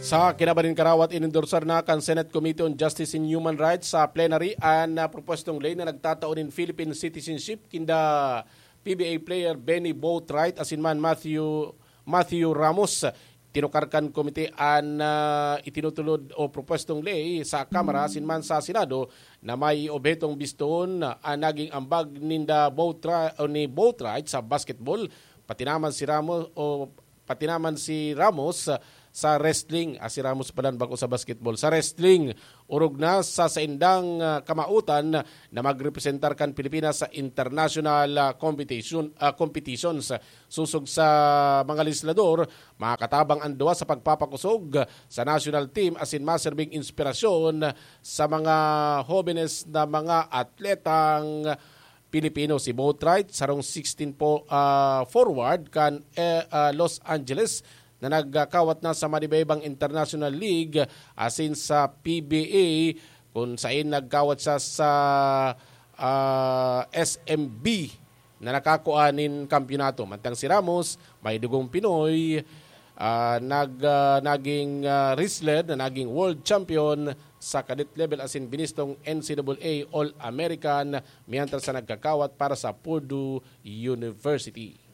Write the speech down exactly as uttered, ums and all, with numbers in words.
Sa kinabaning karawat, inindorsar na kan Senate Committee on Justice and Human Rights sa plenary an, ah, propostong ley na nagtatao nin Philippine citizenship kinda P B A player Benny Boatwright asin man Matthew, Matthew Ramos. Tinukar kan komite an, ah, itinutulod o propostong ley sa Kamara asin man sa Senado na may obhetong bistoon an naging ambag ninda Boatwright, o ni Boatwright sa basketball, pati naman si Ramos o pati naman si Ramos sa wrestling. Ah, si Ramos pala bako sa basketball. Sa wrestling, orog na sa saindang, ah, kamawotan na magrepresentar kan Pilipinas sa international, ah, competition, ah, competitions. Sosog sa mga legislador, makakatabang an duwa sa pagpapakosog sa national team asin maserbing inspirasyon sa mga hobenes na mga atletang Pilipino. Si Boatwright, sarong sixteen po, ah, forward kan, eh, ah, Los Angeles na nagkawat na sa manibaybang international league asin sa P B A, kun sain nagkawat siya sa, ah, S M B na nakakua nin kampiyonato. Mantang si Ramos, may dugong Pinoy, ah, nag-, ah, naging, ah, wrestler na naging world champion sa cadet level asin binistong N C double A All-American, mientras sa nagkakawat para sa Purdue University.